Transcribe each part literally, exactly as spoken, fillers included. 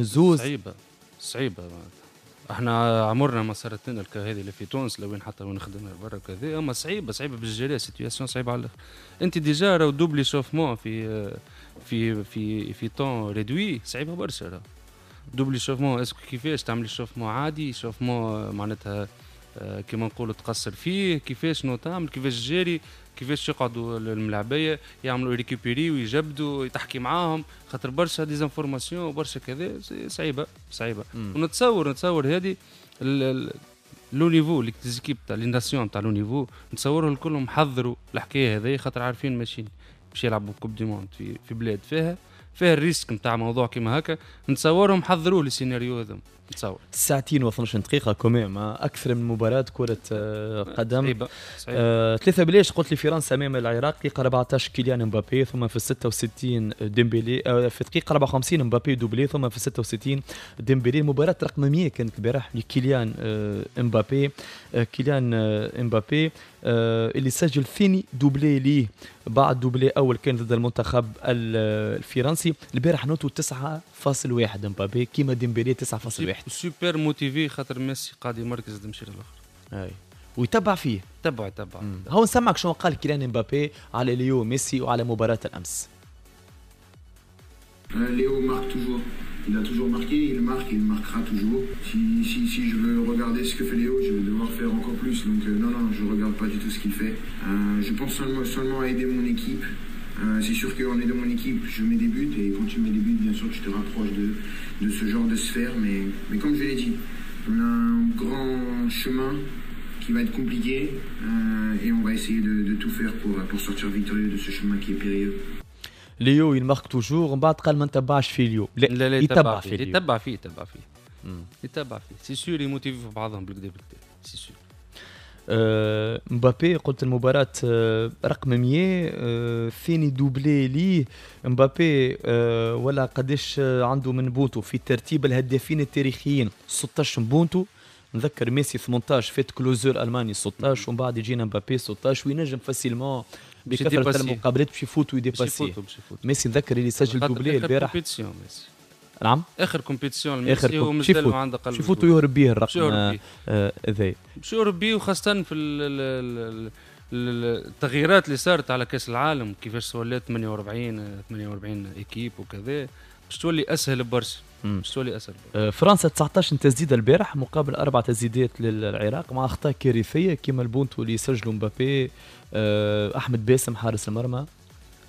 الزوز. صعيبة صعيبه، احنا عمرنا ما صارت لنا هذه اللي في تونس، لوين حتى وين خدمنا برا كذا، اما صعيبة صعيبة باش gérer situation، صعيبة على الاخر. انت déjà راهو double échauffement في في في في temps réduit، صعيبة برشا. راه double échauffement، est-ce que كيفاش تعمل échauffement عادي، échauffement معناتها آه، كيما نقولوا تقصر فيه، كيفاش نو تعمل، كيفاش gérer، كيفاش يقعدوا الملاعبيه يعملوا récupérer ويجبدوا، تحكي معاهم، خاطر برشا des informations وبرشا كذا، صعيبة صعيبه. ونتصور نتصور هذه le niveau les équipes تاع les nations تاع le niveau، نتصوروا الكلهم حضروا الحكاية هذه، خاطر عارفين ماشيين باش يلعبوا coupe du monde في في بلاد فيها فيها ال risque نتاع موضوع كيما هكا. نتصورهم حضروا les scénarios هذم، نتصور. ساعتين وإثناش دقيقة quand même أكثر من مباراة كرة آه، قدم. صعيبة صعيبة. آه، ثلاثة بلاش قلت لي فرنسا أمام العراق. دقيقة أربعطاش كيليان مبابي، ثم في ستة وستين ديمبلي، آه، في دقيقة أربعة وخمسين مبابي doublé، ثم في ستة وستين ديمبلي. المباراة رقم مية كانت البارح لكيليان آه، مبابي، آه، كيليان آه، مبابي آه، اللي سجل ثاني doublé ليه بعد doublé اول كان ضد المنتخب الفرنسي. البارح note و تسعة فاصل واحد مبابي، كيما ديمبلي تسعة فاصل واحد. super motivé، خاطر ميسي قاعد يمركز تمشي للاخر. اي، ويتبع فيه. تبع يتبع. هو نسمعك شنو قال كيليان مبابي على ليو ميسي وعلى مباراة الامس. Léo marque toujours. Il a toujours marqué, il marque et il marquera toujours. Si, si, si je veux regarder ce que fait Léo, je vais devoir faire encore plus. Donc euh, non, non, je regarde pas du tout ce qu'il fait. Euh, je pense seulement, seulement à aider mon équipe. Euh, c'est sûr qu'en aidant mon équipe, je mets des buts. Et quand tu mets des buts, bien sûr, tu te rapproches de, de ce genre de sphère. Mais, mais comme je l'ai dit, on a un grand chemin qui va être compliqué. Euh, et on va essayer de, de tout faire pour, pour sortir victorieux de ce chemin qui est périlleux. ليو il marque toujours، ومن بعد قال ما نتبعش في ليو. لا لا، لا، يتبع فيه، يتبع فيه، يتبع فيه، يتبع فيه، c'est sûr. يموتيفي في بعضهم بالكدا بالكدا، c'est sûr. آه مبابي قلت المباراة آه رقم مية، آه ثاني doublé ليه مبابي، آه ولا قداش عنده من بونتو في ترتيب الهدافين التاريخيين؟ ستاش بونتو. نذكر ميسي ثمنطاش، فات كلوزه الالماني ستاش، ومن بعد يجينا مبابي ستاش، وينجم facilement بكثرة المقابلات باش يفوت وي dépasser ميسي. نذكر اللي سجل doublé البارح. compétition ميسي. نعم. اخر compétition ميسي، هو مازال عنده قلب يفوت ويهرب به الرقم هذا. باش يهرب به، وخاصة في التغييرات اللي صارت على كاس العالم، كيفاش ولات ثمانية وأربعين ثمانية وأربعين équipes وكذا، باش تولي اسهل برشا، باش تولي اسهل. آه، فرنسا تسعطاش تسديده البارح مقابل اربع تسديدات للعراق، مع اخطاء كارثية كما البونتو اللي سجلوا مبابي، آه، احمد باسم حارس المرمى.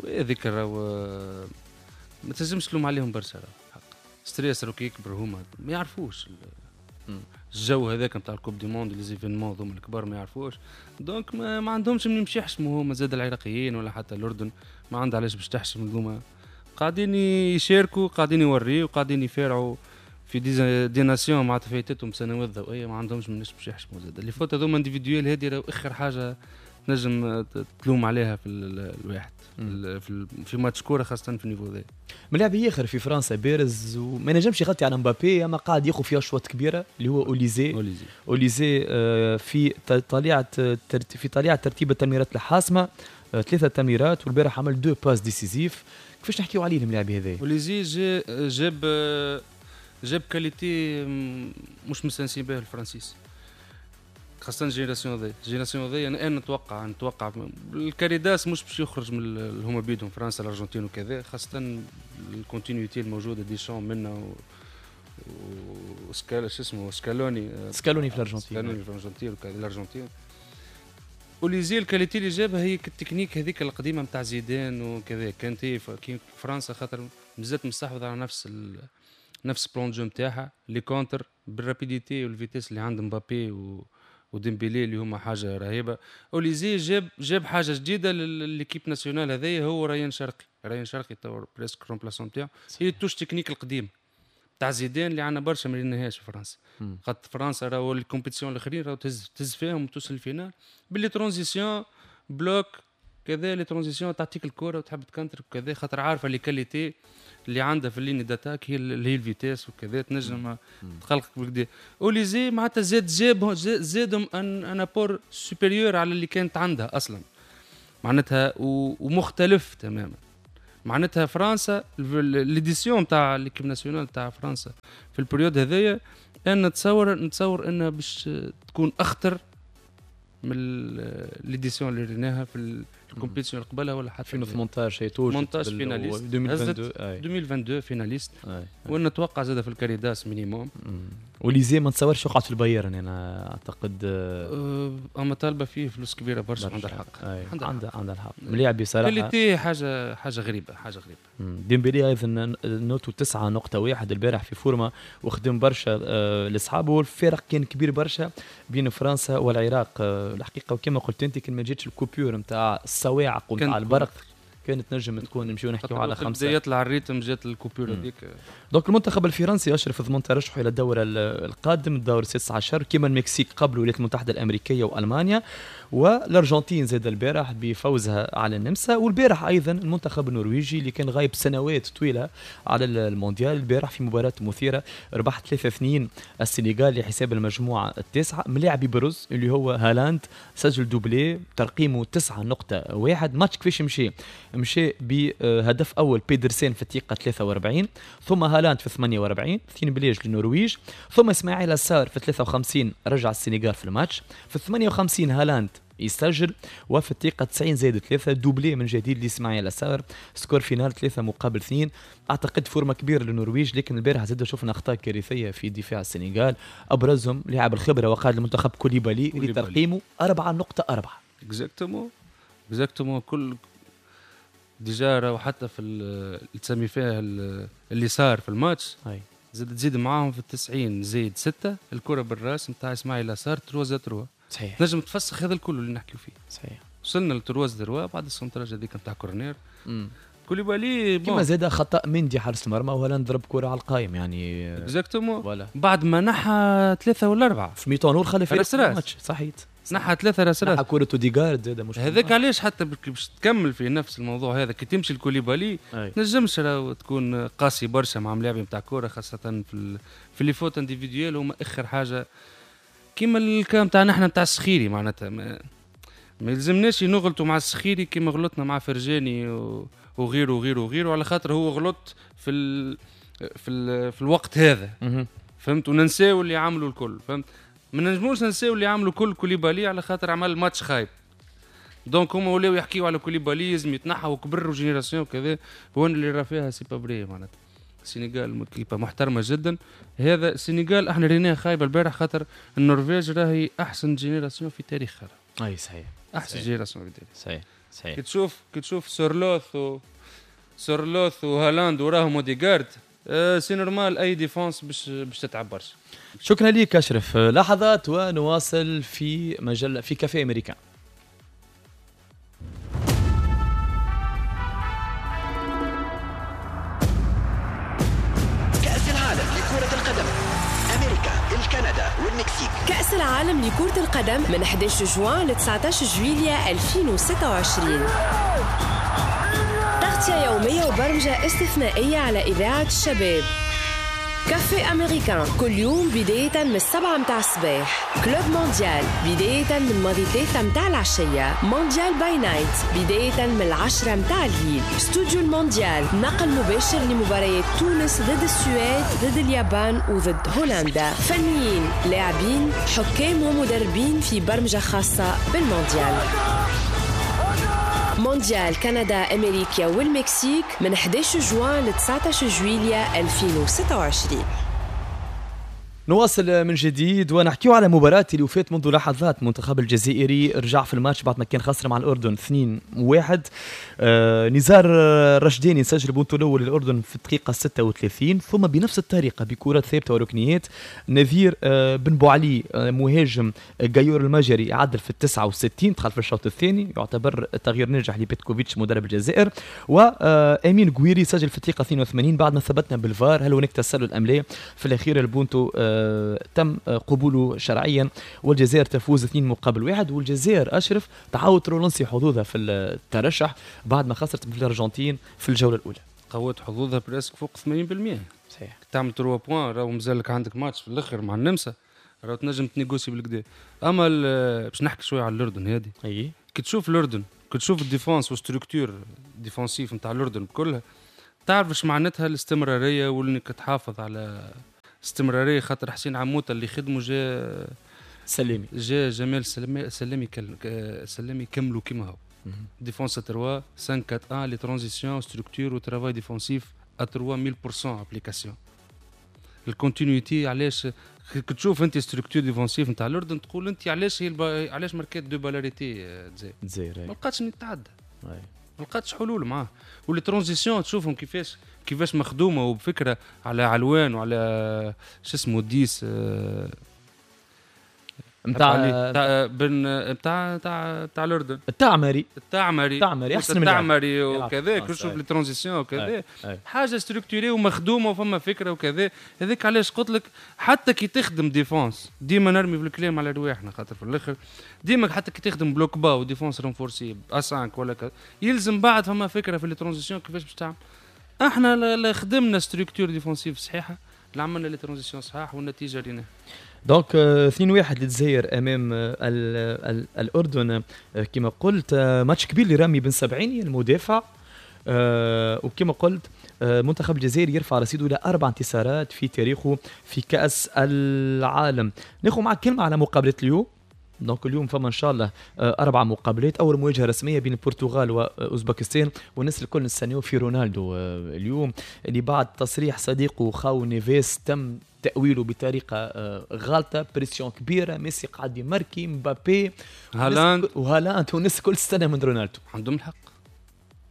هذيك ما تنجمش تلوم عليهم برشا، حق stress كي يكبر هما ما يعرفوش الجو هذاك نتاع ال coupe du monde، les événements هذوما الكبار ما يعرفوش، donc ما, ما عندهمش منين يمشي يحشموا هما زاد. العراقيين ولا حتى الاردن ما عندها علاش باش تحشم، هذوما قاعدين يشاركوا، قاعدين يوريوا، قاعدين يفارعوا في des, des nations معناتها فايتتهم سنوات ضوئيه، ما عندهمش مناش باش يحشموا زاد. les fautes هذوما individuelles هذه اخر حاجة تنجم تلوم عليها في الواحد في في ماتش كوره، خاصة في ال niveau ذا. ملاعب اخر في فرنسا بارز وما نجمش يغطي على مبابي، اما قاعد ياخذ فيها اشواط كبيره، اللي هو اوليزي. اوليزي. اوليزي آه، في طليعه في طليعة ترتيب التمريرات الحاسمه، آه، ثلاثة تمريرات، والبارح عمل deux passes décisives. كيفاش نحكيو عليه الملاعب هذا؟ اوليزي جاب جاب qualité مش مستانسين بها الفرنسيس، خاصة génération ذي génération ذي. انا نتوقع نتوقع الكاريداس مش باش يخرج من هما بيدهم فرنسا، الارجنتين وكذا، خاصة ال continuité الموجودة، ديشان منا و وسكال شو اسمه سكالوني. سكالوني في الارجنتين. سكالوني في الارجنتين وكذا. الارجنتين، اوليزي ال qualité اللي جابها هي التكنيك هذيك القديمة نتاع زيدان وكذا. كانت هي فرنسا خاطر مازالت مستحوذه على نفس ال... نفس plan de jeu نتاعها، les contres بال rapidité وال vitesse اللي عند مبابي و... وديمبيلي اللي هما حاجة رهيبه. اوليزي جاب جاب حاجة جديدة ل l'équipe nationale هذايا، هو ريان شرقي، ريان شرقي تو presque remplaçant تاعو، هي ال touche technique القديم تاع زيدان اللي عندنا برشا ما ريناهاش في فرنسا. خاطر فرنسا راهو ال compétitions الاخرين راهو تهز تهز فيهم وتوصل ال finale ب les transitions، bloc كذا، les transitions، تعطيك الكره وتحب تكنتر وكذا، خاطر عارفه les qualités اللي عندها في ال ligne d'attaque هي اللي هي ال vitesse وكذا، تنجم تخلقك بالكدا. اوليزي معناتها زاد جاب زادهم un un apport supérieur على اللي كانت عندها اصلا معناتها، ومختلف تماما. معناتها فرنسا l'édition تاع l'équipe nationale تاع فرنسا في ال période هذايا انا نتصور نتصور انها باش تكون اخطر من l'édition اللي ريناها في ال compétition اللي قبلها ولا حتى ألفين وثمنطاش هي توجد ثمنطاش finaliste، ألفين واثنين وعشرين finaliste، ونتوقع زاد في ال carré d'as minimum. اوليزي ما نتصورش يقعد في البايرن، انا اعتقد أه اما طالبه فيه فلوس كبيرة برشا. عندها الحق، عندها عندها الحق ملاعب بصراحة qualité، حاجة حاجة غريبة، حاجة غريبة. ديمبلي ايضا note و تسعة نقطة واحد البارح في forme وخدم برشا آه لاصحابه، والفارق كان كبير برشا بين فرنسا والعراق آه الحقيقة. وكما قلت انت كان ما جاتش ال coupure نتاع الصواعق ونتاع البرق كانت نجم تكون نمشيو نحكيو على خمسة. بدا يطلع ال rythme جات ال coupure هذيك. donc المنتخب الفرنسي اشرف ضمن ترشحه الى الدور القادم، الدور السادس عشر، كما المكسيك قبل الولايات المتحدة الامريكية والمانيا، والارجنتين زاد البارح بفوزها على النمسا. والبارح ايضا المنتخب النرويجي اللي كان غايب سنوات طويلة على المونديال، البارح في مباراة مثيرة ربح ثلاثة اثنين السنغال لحساب المجموعة التاسعة. ملاعب يبرز اللي هو هالاند سجل doublé ترقيمه تسعة نقطة واحد. ماتش كيفاش مشي؟ مشى بهدف اول بيدرسين في الدقيقة ثلاثة وأربعين، ثم هالاند في ثمانية وأربعين، اثنين بليج للنرويج، ثم اسماعيل سار في ثلاثة وخمسين رجع السنغال في الماتش، في ثمانية وخمسين هالاند يسجل، وفي الدقيقة تسعين زائد ثلاثة doublé من جديد لإسماعيل سار، score final ثلاثة مقابل اثنين. أعتقد forme كبيرة للنرويج، لكن البارح زاد شفنا أخطاء كارثية في دفاع السنغال، أبرزهم لاعب الخبرة وقائد المنتخب كوليبالي اللي ترقيمه أربعة نقطة أربعة. exactement exactement كل déjà راهو حتى في اللي تسمي فيها اللي صار في الماتش زاد تزيد معاهم في التسعين زايد ستة الكرة بالراس نتاع إسماعيل سار ثلاثة ثلاثة. صحيح، نجم تفسخ هذا الكل اللي نحكيو فيه. صحيح، وصلنا ل trois trois بعد ال centrage هذيك نتاع corner. كوليبالي كما زاد خطا مندي حارس المرمى وهالاند ضرب كره على القايم يعني exactement. بعد ما نحى ثلاثة ولا اربعة في mi-temps نور خلى فريق الماتش. صحيت، نحى ثلاثة راس راس، نحى كره اوديغارد زاد مش هذاك علاش. حتى باش تكمل في نفس الموضوع هذا كي تمشي لكوليبالي تنجمش تكون قاسي برشا مع ملاعب نتاع كورة، خاصة في ال... في les fautes individuelles هما اخر حاجة كيما ال cas تاع نحن نتاع السخيري. معناتها ما, ما يلزمناش نغلطوا مع السخيري كيما غلطنا مع فرجاني و... وغيره وغيره وغيره، على خاطر هو غلط في ال... في ال... في الوقت هذا. فهمت؟ وننساو اللي عملوا الكل. فهمت؟ ما نجموش ننساو اللي عملوا كل كوليبالي على خاطر عمل ماتش خايب. donc هما ولاو يحكيو على كوليبالي لازم يتنحى وكبر و génération وكذا، هو اللي راه فيها c'est pas vrai. معناتها السنغال équipe محترمه جدا. هذا السنغال احنا ريناه خايبة البارح خاطر النرويج راهي احسن génération في تاريخها. اي صحيح، احسن génération في التاريخ. صحيح صحيح. كي تشوف كي تشوف سورلوث و سورلوث وهالاند وراهم اوديغارد، أه c'est normal اي défense باش باش تتعب برشا. شكرا لك اشرف. لحظات ونواصل في مجلة في كافيه امريكان. كأس العالم لكرة القدم من أحد عشر جوان ل تسعة عشر جويلية ألفين وستة وعشرين. تغطية يومية وبرمجة استثنائية على إذاعة الشباب. كافيه أمريكان كل يوم بداية من السبعة متاع الصباح. Club Mondial بداية من ماضي ثلاثة متاع العشية. Mondial by night بداية من العشرة متاع الليل. استوديو المونديال نقل مباشر لمباريات تونس ضد السويد، ضد اليابان وضد هولندا. فنيين، لاعبين، حكام ومدربين في برمجة خاصة بالمونديال. مونديال كندا أمريكا والمكسيك من أحد عشر جوان ل تسعة عشر جويلية ألفين وستة وعشرين. نواصل من جديد ونحكيو على مباراة اللي وفات منذ لحظات. المنتخب الجزائري رجع في الماتش بعد ما كان خسر مع الأردن اثنين واحد. آه نزار رشديني سجل بونتو الأول للأردن في الدقيقة ستة وثلاثين، ثم بنفس الطريقة بكرات ثابتة وركنيات نذير آه بن بوعلي آه مهاجم جايور المجري عدل في التسعة وستين، دخل في الشوط الثاني، يعتبر تغيير ناجح لبيتكوفيتش مدرب الجزائر. وأمين قويري سجل في الدقيقة اثنين وثمانين بعد ما ثبتنا بالفار هل هناك تسلل أم لا. في الأخير البونتو تم قبوله شرعيا والجزائر تفوز اثنين مقابل واحد. والجزائر أشرف تعاود relancer حظوظها في الترشح بعد ما خسرت في الأرجنتين في الجولة الأولى. قوت حظوظها presque فوق ثمانين بالمئة. صحيح، تعمل ثلاثة points راهو مازالك عندك ماتش في الآخر مع النمسا، راهو تنجم ت négocier بالكدا. أما باش نحكي شوية على الأردن هذه، أي كي تشوف الأردن كي تشوف ال défense و structure défensive نتاع الاردن كلها، تعرف ايش معناتها الاستمرارية وانك تحافظ على استمراريه، خاطر حسين عموتة اللي خدمة جا سلامي، جا جمال سلامي، سلامي سلامي كملوا كيما هو. défense ثلاثة خمسة أربعة واحد، les transitions، structure و travail défensif à ثلاثمية بالمية application. ال continuité علاش كي تشوف انت structure défensive نتاع الاردن تقول انت علاش هي الب... علاش ماركات deux balles arrêtées الجزائر؟ الجزائر ما لقاتش من تتعدى، ما لقاتش حلول معاه. و les transitions تشوفهم كيفاش كيفاش مخدومة وبفكره على علوان وعلى شو اسمه dix نتاع تاع بن نتاع تاع تاع الاردن، التعمري التعمري التعمري احسن من التعمري وكذا. تشوف les transitions وكذا، حاجة structurée ومخدومه وفما فكرة وكذا. هذاك علاش قلت لك حتى كي تخدم défense ديما نرمي في الكلام على رواحنا، خاطر في الاخر ديما حتى كي تخدم bloc bas و défense renforcée à cinq ولا كذا، يلزم بعد فما فكرة في les transitions كيفاش باش تعمل. احنا لا خدمنا structure défensive صحيحه، لا عملنا les transitions صحاح، والنتيجة ريناها. donc اثنين واحد للجزائر امام ال ال الاردن. كما قلت ماتش كبير لرامي بن سبعيني المدافع، وكما قلت منتخب الجزائر يرفع رصيده الى اربع انتصارات في تاريخه في كاس العالم. ناخذ معك كلمة على مقابله اليوم. donc اليوم فما ان شاء الله اربع مقابلات، اول مواجهة رسمية بين البرتغال واوزبكستان، والناس الكل نستناو في رونالدو اليوم اللي بعد تصريح صديقه خاو نيفيس تم تأويله بطريقة غالطة، pression كبيرة، ميسي قاعد يماركي، مبابي، هالاند وهالاند، والناس الكل تستنى من رونالدو. عندهم الحق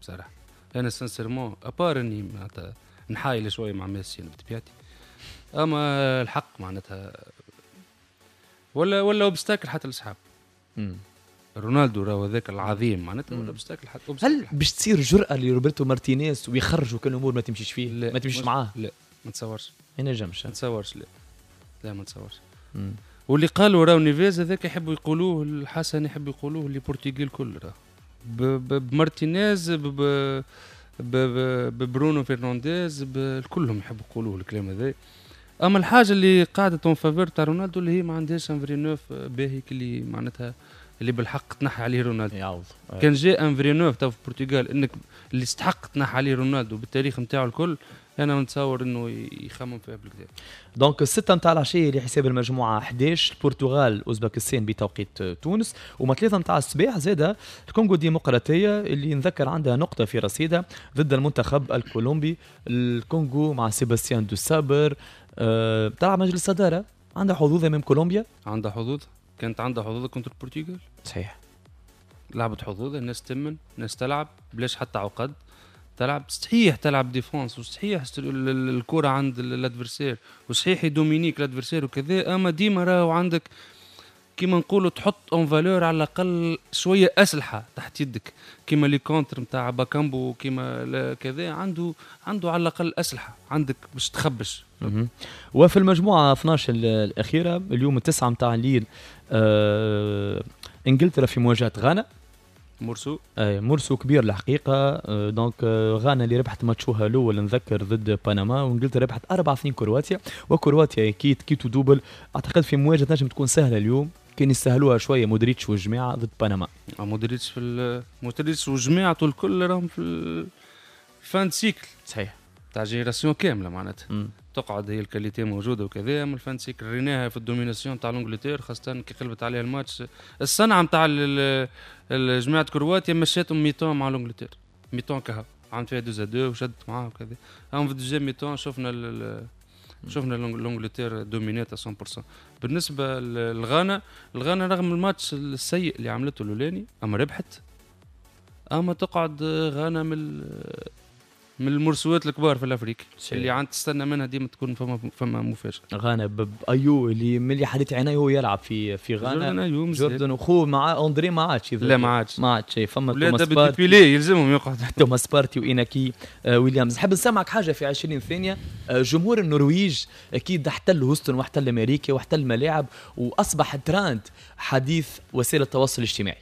بصراحة. أنا sincèrement à part إني معناتها نحايل شوية مع ميسي بطبيعتي، أما الحق معناتها ولا ولا obstacle حتى الأصحاب. رونالدو راهو هذاك العظيم معناتها ولا obstacle حتى. هل باش تصير جرأة لروبرتو مارتينيز ويخرجوا كل الأمور ما تمشيش فيه؟ ما تمشيش معاه؟ لا ما تصورش، ما ينجمش، ما تصورش، لا لا ما تصورش. واللي قالوا راهو نيفيز هذاك يحبوا يقولوه الحسن، يحبوا يقولوه les Portugais الكل، راه بمارتينيز ببرونو فرنانديز كلهم يحبوا يقولوه الكلام هذا. اما الحاجة اللي قاعدة en faveur تاع رونالدو اللي هي ما عندهاش un vrai neuf باهي اللي معناتها اللي بالحق تنحى عليه رونالدو. يعوض. كان جاء un vrai neuf تاع في البرتغال انك اللي استحق تنحى عليه رونالدو بالتاريخ نتاعو الكل، انا نتصور انه يخمم فيها بالكدا. donc الستة نتاع العشية لحساب المجموعة أحد عشر البرتغال اوزبكستان بتوقيت تونس، وما ثلاثة نتاع الصباح زاده الكونغو الديمقراطية اللي نذكر عندها نقطة في رصيدها ضد المنتخب الكولومبي. الكونغو مع سيباستيان دو سابر أه تلعب مجلس الصدارة، عندها حظوظ امام كولومبيا، عندها حظوظ، كانت عندها حظوظ contre البرتغال صحيح، لعبت حظوظ، الناس تمن، الناس تلعب بلاش حتى عقد، تلعب صحيح، تلعب défense وصحيح الكره عند l'adversaire وصحيح يدومينيك l'adversaire وكذا، اما ديما راهو عندك كيما نقولوا تحط en valeur على الاقل شوية اسلحة تحت يدك، كيما les contres نتاع باكامبو كيما كذا، عنده عنده على الاقل اسلحة عندك باش تخبش. وفي المجموعة اثناش الاخيرة اليوم التسعة نتاع الليل آه انجلترا في مواجهة غانا. morceau اي morceau كبير الحقيقة. donc غانا اللي ربحت ماتشوها الاول نذكر ضد بنما، وانجلترا ربحت أربعة اثنين كرواتيا، وكرواتيا اكيد quitte ou double. اعتقد في مواجهة تنجم تكون سهلة اليوم، كان يسهلوها شوية مودريتش والجماعة ضد بنما. مودريتش في مودريتش وجماعته الكل راهم في ال fin cycle صحيح تاع génération كاملة معناتها. م. تقعد هي ال qualité موجودة وكذا، اما ال fin cycle ريناها في ال domination تاع l'Angleterre خاصة كي قلبت عليها الماتش. الصنعة نتاع جماعة كرواتيا مشاتهم mi-temps مع l'Angleterre، mi-temps كها عملت فيها deux deux وشدت معاه وكذا. اما في deuxième mi-temps شفنا شفنا l'Angleterre دومينات مية بالمية. بالنسبة للغانا، الغانا رغم الماتش السيء اللي عملته الاولاني اما ربحت، اما تقعد غانا من من المرسوات الكبار في l'Afrique اللي عند تستنى منها ديما تكون فما فما مفاجاة. غانا بايو اللي ملي حديت عينيه هو يلعب في في غانا، جوردن وخوه مع اندري ما عادش، لا ما عادش ما عادش فما توماس بارتي يلزمهم يقعد توماس بارتي وإيناكي آه ويليامز. نحب نسمعك حاجة في عشرين ثانية. آه جمهور النرويج اكيد احتل هوستن واحتل امريكا واحتل ملاعب واصبح ترند حديث وسائل التواصل الاجتماعي.